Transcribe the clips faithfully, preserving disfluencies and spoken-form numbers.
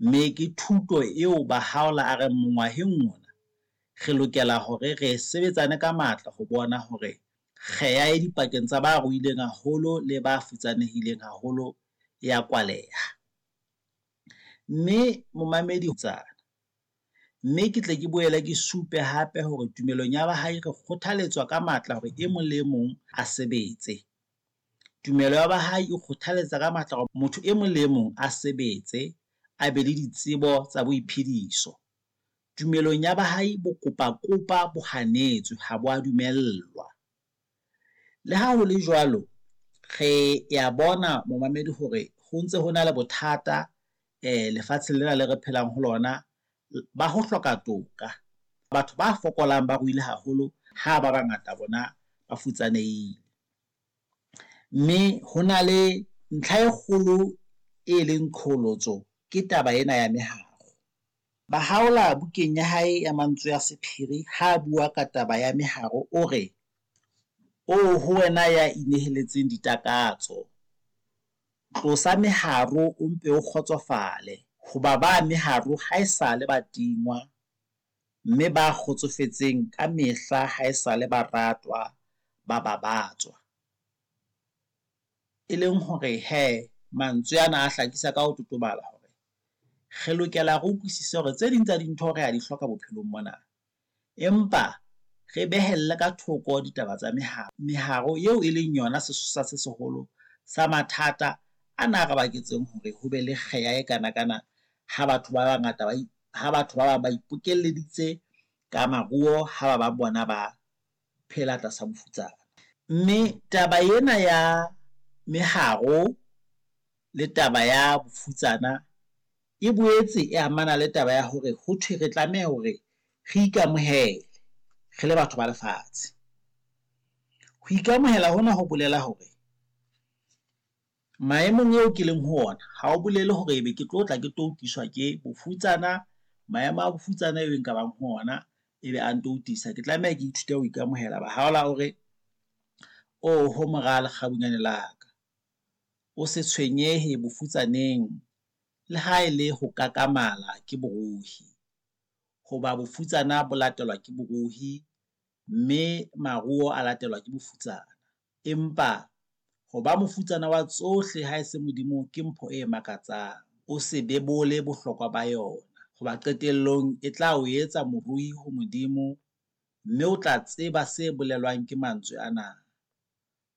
Mme ke thuto eo Bahaola a reng mongwaheng ona re lokela hore re sebetsane ka matla ho bona hore kgeha e dipakeng tsa ba ruileng haholo le ba futsanehileng haholo ya kwaleha. Mme momamedi mme ke tle ke boele ke supe hape hore tumelong ya bahae re kgothaletswa ka matla hore e mong le e mong a sebetse. Tumelo ya bahae e kgothaletsa ka matla hore motho e mong le e mong a sebetse, a be le ditsebo tsa boiphediso. Tumelong ya bahae bokopakopa bo hanetswe ha bo a dumellwa. Le ha ho le jwalo, re ya bona momamedi hore ho ntse ho na le bothata lefatsheng lena le re phelang ho lona ba ho hloka toka. Batho ba fokolang ba ruile haholo ha ba bangata bona ba futsanehile. Mme ho na le ntlha e kgolo e leng qholotso ke taba ena ya meharo. Bahaola bukeng ya hae ya mantswe a sephiri ha bua ka taba ya meharo o re, "Oho wena ya ineheletseng ditakatso, tlosa meharo o mpe o kgotsofale. Hoba ba meharo haesale ba tingwa, mme ba kgotsofetseng ka mehla haesale ba ratwa, ba babatswa." E leng hore hee mantswe ana a hlakisa ka ho totobala hore re lokela re utlwisise hore tse ding tsa dintho re a di hloka bophelong mona. Empa re behelle ka thoko ditaba tsa meharo. Meharo eo e leng yona sesosa se seholo sa mathata ana a re baketseng hore ho be le kgeha e kanakana ha batho ba bangata ba ha batho ba bang ba ipokelleditse ka maruo, ha ba bang bona ba phela tlasa bofutsana. Mme taba ena ya meharo le taba ya bofutsana e boetse e amana le taba ya hore ho thwe re tlameha hore re ikamohele re le batho ba lefatshe. Ho ikamohela hona ho bolela hore maemong eo ke leng ho ona ha o bolele hore ebe ke tlo tla ke toutiswa ke bofutsana. Maemo a bofutsana eo nka bang ho ona ebe a ntoutisa. Ke tlameha ke ithute ho ikamohela. Bahaola o re, "Oho mora lekgabunyane la ka, o se tshwenyehe bofutsaneng le ha e le ho kakamala ke borohi. Hoba bofutsana bo latelwa ke borohi, mme maruo a latelwa ke bofutsana. Empa ho ba mofutsana wa tsohle ha e se Modimo ke mpho e makatsang. O se bebole bohlokwa ba yona hoba qetellong e tla o etsa morui ho Modimo, mme o tla tseba se bolelwang ke mantswe ana,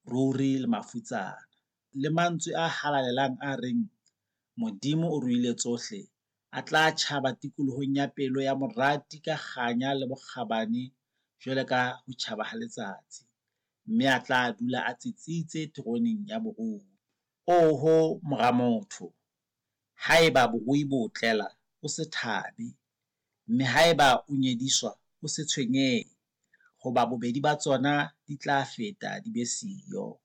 ruri le mafutsana. Le mantswe a halalelang a reng Modimo o ruile tsohle a tla tjhaba tikolohong ya pelo ya morati ka kganya le bokgabane jwalo ka ho tjhaba ha letsatsi. Mme a tla dula a tsitsitse teroneng ya borui. Oho mora motho, haeba borui bo o tlela, o se thabe, mme haeba o nyediswa, o se tshwenyehe, hoba bobedi ba tsona di tla feta di be siyo.